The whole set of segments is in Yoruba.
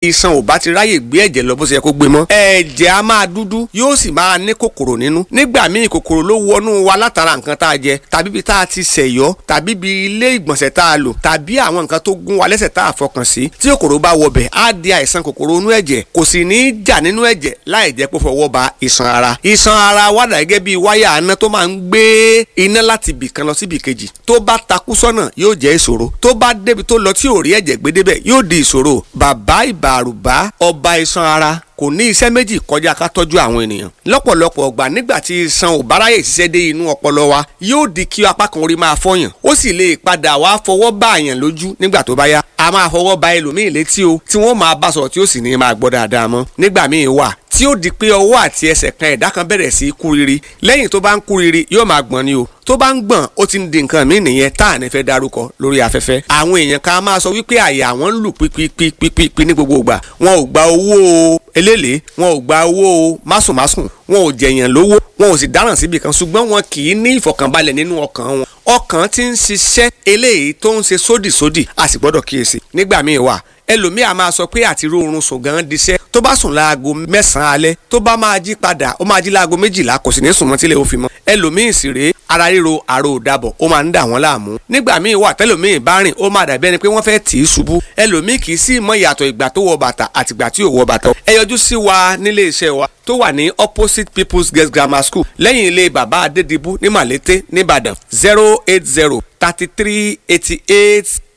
Iṣan ò bá ti ráyè gbé ẹ̀jẹ̀ lọ bó ṣe yẹ kó gbé mọ́, ẹ̀jẹ̀ á máa dúdú, yóò sì máa ní kòkòrò nínú. Nígbà míì, kòkòrò ló wọnú wa látara nǹkan tá a jẹ, tàbí ibi tá a ti ṣẹ̀yọ́, tàbí ibi ilé ìgbọ̀nsẹ̀ tá a lò, tàbí àwọn nǹkan tó gún wa lẹ́sẹ̀ tá a fọkàn sí. Tí kòkòrò bá wọbẹ̀, á di àìsàn kòkòrò inú ẹ̀jẹ̀. Kò sì ní í jà nínú ẹ̀jẹ̀ láì jẹ́ pé fọwọ́ ba iṣan ara. Iṣan ara wà dà gẹ́gẹ́ bí wáyà iná tó máa ń gbé iná láti ibì kan lọ sí ibì kejì. Tó bá takú sọ́nà, yóò jẹ́ ìṣòro. Tó bá débi tó lọ tí ò rí ẹ̀jẹ̀ gbé débẹ̀, yóò di ìṣòro. Bàbá Ìbàrùbá, ọba iṣan ara, kò ní iṣẹ́ méjì kọjá ká tọ́jú àwọn ènìyàn. Lọ́pọ̀lọpọ̀ ọgbà, nígbà tí iṣan ò bá ráyè ṣiṣẹ́ dé inú ọpọlọ wa, yóò di kí apá kan orí máa fọyàn, ó sì lè padà wá fọwọ́ bá àyàn lójú nígbà tó bá yá. A máa fọwọ́ ba ẹlòmíì létí o, tí wọ́n máa bá sọ̀rọ̀ tí ó sì ní máa gbọ́ dáadáa mọ́. Nígbà míì wà tí ó di pé ọwọ́ àti ẹsẹ̀ kan ẹ̀dá kan bẹ̀rẹ̀ sí í kú riri. Lẹ́yìn tó bá ń kú riri, yóò máa gbọ̀n ni o. Tó bá ń gbọ̀n, ó ti ń di nǹkan míì nìyẹn tá à ní fẹ́ darúkọ lórí afẹ́fẹ́. Àwọn èèyàn kan máa sọ wípé àyà àwọn ń lù pípípípípí ní gbogbo ìgbà. Wọn ò gba owó eléèlé, wọn ò gba owó másùnmásùn, wọn ò jẹ̀yàn lówó, wọn ò sì dáràn síbi kan, ṣùgbọ́n wọn kì í ní ìfọ̀kànbalẹ̀ nínú ọkàn wọn. Ọkàn ti ń ṣiṣẹ́ eléyìí tó ń ṣe sódìsódì, a sì gbọ́dọ̀ kíyèsí. Nígbà míì wà, ẹlòmíì a máa sọ pé àti róorun sùn gan diṣẹ́. Tó bá sùn láago 9 alẹ́, tó bá máa jí padà, ó máa jí láago 12, kò sì ní sùn mọ́ tílé ó fi mọ́. Ẹlòmíì sì rèé, ara ríro, àrò òdàbọ̀, ó máa ń dà wọ́n láàmú. Nígbà míì wà, tẹlòmíì bá rìn, ó máa dàbí ẹni pé wọ́n fẹ́ tì í ṣubú. Ẹlòmíì kì í sì mọ ìyàtọ̀ ìgbà tó wọ bàtà àtìgbà tí ò wọ bàtà. Ẹ yọjú sí wa nílé iṣẹ́ wa tó wà ní opposite People's Girls Grammar School, lẹ́yìn ilé bàbá Adédìbú ní Màlété nìbàdàn.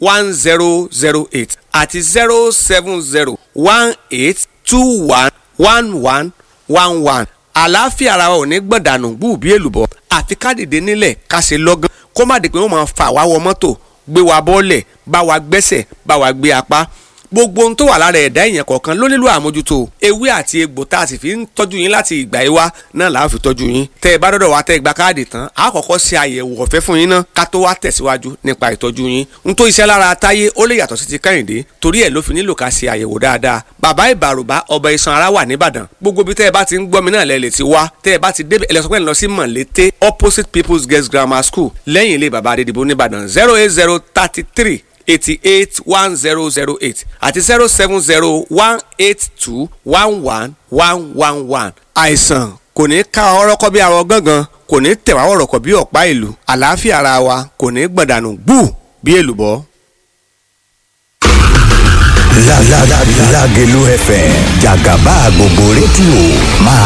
08033881008 àti 07018211111. Àlàáfíà ara wa ò ní gbọ̀dànù gbùbí èlùbọ́. Àfi ká dìde nílẹ̀, ká ṣe lọ́gán, kó má di pé wọ́n máa fà wá wọ mọ́tò, gbé wa bọ́ọ̀lẹ̀, bá wa gbẹ́sẹ̀, bá wa gbé apá. Gbogbo ohun tó wà lára ẹ̀dá èèyàn kọ̀ọ̀kan ló nílò àmójútó. Ewé àti egbò tá a sì fi ń tọ́jú yín láti ìgbà yìí wá náà là á fi tọ́jú yín. Tẹ́ ẹ bá dọ́dọ̀ wá, tẹ́ ẹ gba káàdì tán, a kọ́kọ́ ṣe àyẹ̀wò ọ̀fẹ́ fún yín náà ká tó wá tẹ̀síwájú nípa ìtọ́jú yín. N tó iṣẹ́ lára Táyé, ó lè yàtọ̀ sí ti Kẹ́hìndé, torí ẹ̀ ló fi nílò ká ṣe àyẹ̀wò dáadáa. Bàbá Ìbàrùbá, ọba iṣan ara, wà nìbàdàn. Gbogbo ibi tẹ́ ẹ bá ti ń gbọ́ mi náà lẹ lè ti wá. Tẹ́ ẹ bá ti débẹ̀, ẹ lọ sọ pé ẹ lọ sí Mọ̀lété, opposite People's Girls Grammar School, lẹ́yìn ilé bàbá Adédìbò nìbàdàn. 08033881008 àti 07018211111. Àìsàn kò ní ká ọ̀rọ̀ kọ́ bí arọ gángan, kò ní tẹ̀wá ọ̀rọ̀ kọ́ bí ọ̀pá ìlú. Àlàáfíà ara wa kò ní gbọ̀dànù gbù bí èlùbọ́. Lágelú FM, jàgàbá gbogbo rédíò máa.